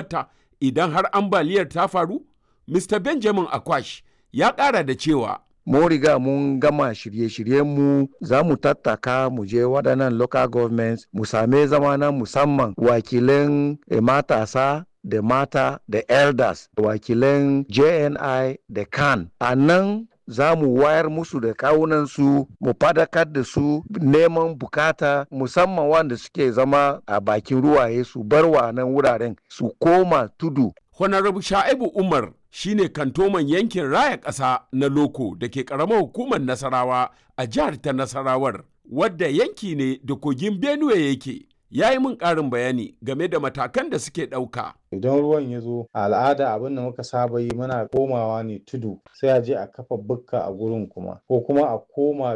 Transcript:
Ta idan har ambaliyar ta faru? Mr. Benjamin Akwash ya ƙara da cewa Mun riga mun gama shirye-shiryenmu, za mu tattaka mu je waɗannan local governments mu same zama na musamman, wakilan matasa da mata da elders, wakilan JNI da CAN. A nan za mu wayar musu da kawunansu, mu fadakar da su neman bukata, musamman wanda suke zama a bakin ruwaye, su bar wa nan wuraren su koma tudu. Honorable Sha'ibu Umar shine kantoman yankin raya ƙasa na Loko da ke ƙaramar hukumar Nasarawa a jihar ta Nasarawar, wadda yanki ne da kogin Benue yake. Ya yi min ƙarin bayani game da matakan da suke ɗauka. Idan ruwan ya zo, a al'ada abin da muka saba yi, muna komawa ne tudu, sai a je a kafa bukka a gurin kuma, ko kuma a koma